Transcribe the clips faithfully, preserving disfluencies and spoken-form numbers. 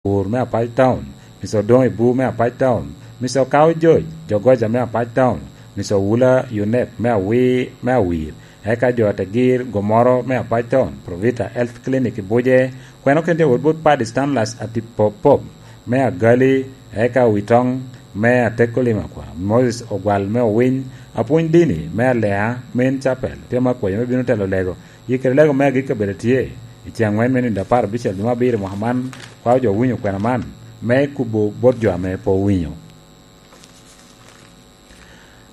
Pur me Apac Town, Mister Odoŋ Ibu me Apac Town, Mister Okao George Jogoja me Apac Town, Mister Owula Yunep me Awir, me Awir, eka jo a Tegir Gomoro me Apac Town, Provita Health Clinic i Buje, kweno kente wot bot Paddy Stanlas Atipopop me Agali, eka Witoŋ me Ateko Limakwa, Moses Ogwal me Owiny, Apwony Dini me Alea Main Chapel, tye ma akwayo me bino telo lego. Yikere lego me agikki kabedo tye i ce aŋwen me nino apar abicel dwe me abiro i mwaka man, kwao jo owinyo kwena man me kubo bot jo ame pe owinyo.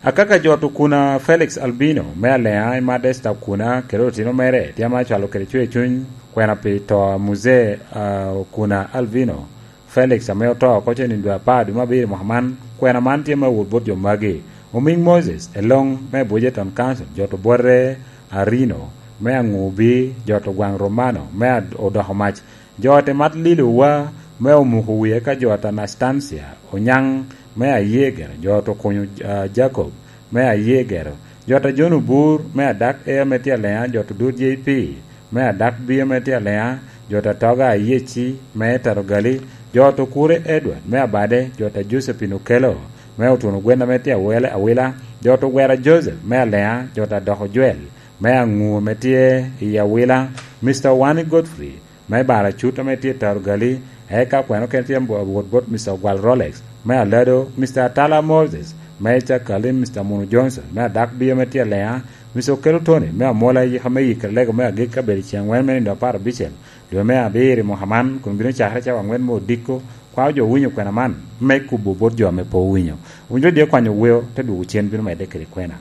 Akaka jo Tukuna Felix Albino me Alea i Modesta Okuna kede otino mere tye ame acwalo kede cwer cuny kwena pi to a Muzee, ah, Okuna Albino Felix ame oto oko cen i dwe apar dwe me abiro i mwaka man, kwena man tye me wot bot jo magi. Oming Moses Eloŋ me Bujeton Council, jo to Bwote Arino me Aŋubi, jo to Gwaŋ Romano me Ad-, Odoko Mac, jo te mat Lilo Wa me Omuko Wie ka jo ta Anastasia Onyaŋ me Ayegero, jo to Kunyo, ah, Jacob me Ayegero, jo ta John Obur me Adak Ea me tye Alea, jo to Dut J P me Adak Bio me tye Alea, jo ta Toga Ayeci me Tarogali, jo to Kure Edward me Abade, jo ta Josephine Okello me Otuno Gwen ame tye Awele-, Awila, jo to Gwera Joseph me Alea, jo ta Doko Joel me Aŋu ame tye i Awila, Mister Wani Godfrey me Baracut ame tye i Tarogali, eka kweno kene tye wot bot Mister Ogwal Rolex me Alado, Mister Atala Moses me Cakali, Mister Munu Johnson me Adak Bio ame tye Alea, Mister Okello Tony me Amola, yika me yikere lego me agikki kabedo ceŋ aŋwen me nino apar abicel dwe me abiro i mwaka man, kun bino cakere cawa aŋwen me odiko, kwao jo owinyo kwena man me kubo bot jo ame pe owinyo. Winyo dye kwanyo weo te dwogo cen bino medde kede kwena.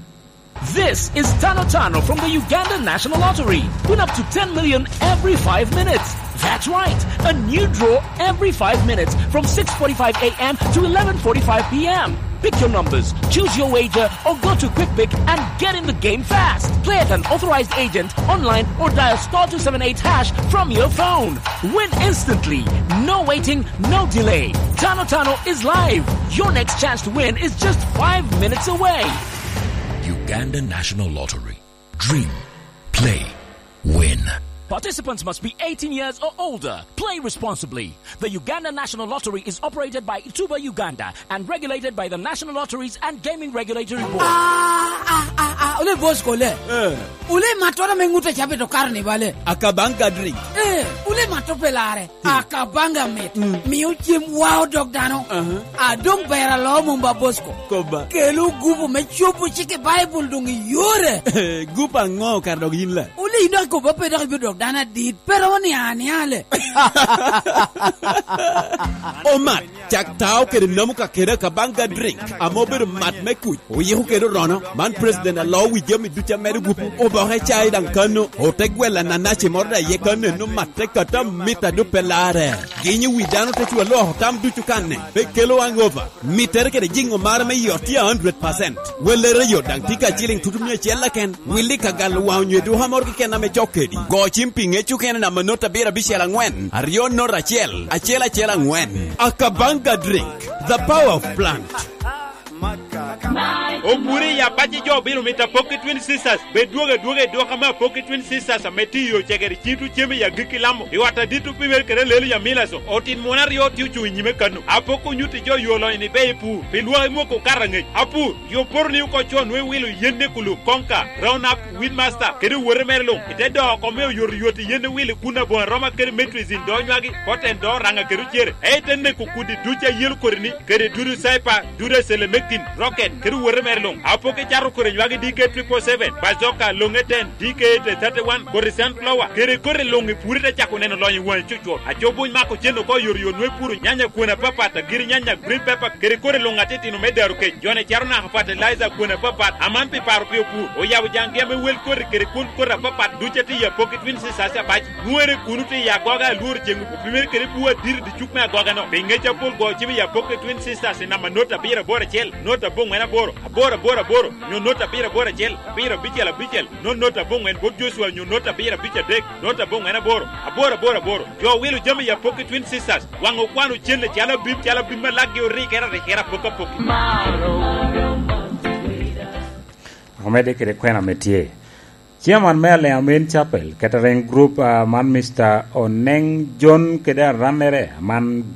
This is Tano Tano from the Uganda National Lottery. Win up to ten million every five minutes. That's right, a new draw every five minutes from six forty-five a m to eleven forty-five p m. Pick your numbers, choose your wager, or go to Quick Pick and get in the game fast. Play at an authorized agent, online, or dial star two seven eight hash from your phone. Win instantly. No waiting, no delay. Tano Tano is live. Your next chance to win is just five minutes away. Uganda National Lottery. Dream. Play. Win. Participants must be eighteen years or older. Play responsibly. The Uganda National Lottery is operated by Tuba Uganda and regulated by the National Lotteries and Gaming Regulatory Board. Ah, ah, ah, ah, ole Bosco, ole. Eh. Ole matoro me ŋute cabe to Carnival, eh. Akabanga drink. Eh, ole mato pelare. Akabanga mit. Mm. Mio cem wao dog dano. Aha. Adong ber alo mumba Bosco. Koba. Kelo gupu me cobo cik i Baibul dong iyore. Gupu aŋo kara dog yin la? Ole idok koba pe dok ibino dok dano adit. Pero ni aniale. Omat, cak tao kede namu ka kede Akabanga drink. Amo bedo mat me kuc. Oyiko kede orono, man president alo wi jami ducu amedo gupu. Oboke cai daŋ kano, ote gwela nanaci moro daŋ iye kano eno matte kata mita dupe lare. Ginyo wi dano te cwa loko tam ducu kanne, pe kelo hangover. Mittere kede jiŋo mare me yot tye a hundred percent. Wellere yot daŋ tye ka ciliŋ tutu mia acel keken. Willi ka galo waŋ onyo eduka moro keken ame cok kedi. Go cim pi ŋec okene namba not abiro abicel aŋwen, aryo not acel, acel acel aŋwen. Akabanga drink, the power of plant. Ogure i apac i jo obino mito Apoki Twin Sisters. Bed dwogo adwoga i dwoka me Apoki Twin Sisters ame tye i yo cegere cito cem i agikki lamo. I ot adit opimere kede alelo i amila so. Otin muno aryo tye ocuŋ i nyime kano. Apoki onyutti jo yo lonyo ni be i pur. Pi lwak i mwoko okato aŋec. Apur, jo poro ni oko co nwe wilo yen ne kulub, konka, round up, Weedmaster kede owote mere luŋ, i te doo oko me oyotoyot i yen owil i kun aboŋo aroma kede metrizin doo nywagi, koten doo oraŋa kede ocere, ei te neko kudi ducu a yelo kodi-ni, kede dudu caipa, dudu acelemekin, roket, kede owote mere luŋ. Apoki cato kodi nywagi D K triple seven, bazoka, loŋe ten, D K eight thirty-one, kodi sunflower, kede kodi luŋ i puri te cako neno lonyo i waŋi cucwot. Aco buny mako cen oko oyotoyot nwe puro nyanya kwene apapat, agiri nyanya, green pepper, kede kodi luŋ atitino me daro kec. Jone caro naka fertilizer kwene apapat, aman pi paro pi opur. Oyabo jaŋgi ame wel koti kede kwon koti apapat ducu atye i Apoki Twin Sisters apac. Nwoŋere kuno tye i agoga alworo ceŋ opimere kede bur adit i dicuk me agoga-no. Pi ŋec apol go cim i Apoki Twin Sisters i namba not abiro aboro acel, not aboŋwen aboro, aboro aboro aboro, nyo not abiro aboro acel, abiro abicel abicel, not not aboŋwen bot Joshua nyo not abiro abic adek, not aboŋwen aboro, aboro aboro aboro. Jo owilo jami i Apoki Twin Sisters, waŋ okwano cen calo abim, calo abim ma lakgi orikere arikere apoki apoki. Omedde kede kwena ame tye. Chairman me Alea Main Chapel Catering Group, ah, man Mister Oneng John kede arannere, aman